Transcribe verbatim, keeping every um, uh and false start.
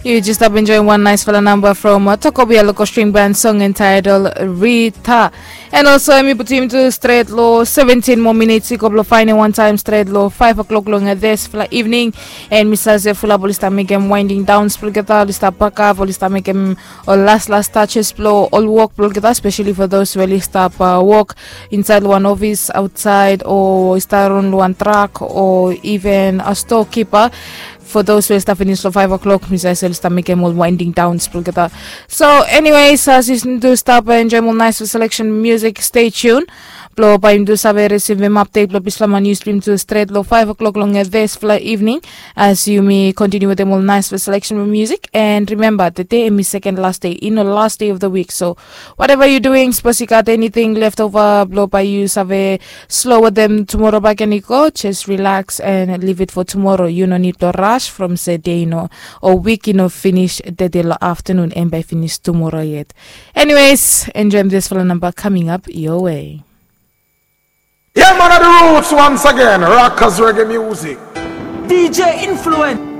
Yu jes stap enjoim wan naisfala namba from Tokobia Loko String Band, song entitled Rita. And also em i putim tu stret lo seventin moa minits i go blo faenem wan taem stret lo five o'clock long disfala evening. And mi save se fulap oli stap mekem winding downs blo olgeta, oli stap pakap, oli stap mekem ol las las touches blo ol wok blo olgeta, especially for those we oli stap wok insaed lo wan ofis aotsaed o i stap ron lo wan trak o even a storekeeper. For those we oli stap finis lo five o'clock, mi save se oli stap mekem ol winding downs blo olgeta. So anyways, as yumi tu stap enjoim ol naisfala selection music, stay tuned blo bae yumi tu save risivim update blo dispela man yu stream tu stret lo five o'clock long disfala evening. As yumi continue wetem ol naisfala selection music, and remember, today em i second last day, i no last day of the week. So whatever you doing, suppose you got anything left over blo bae yu save slow wetem tomorrow back and go, just relax and leave it for tomorrow. You no need to rush from se day no or week no finish today lo afternoon, em bae finish tomorrow yet. Anyways, enjoy this fala number coming up your way. Yeah, man of the roots once again. Rockers reggae music. D J Influence.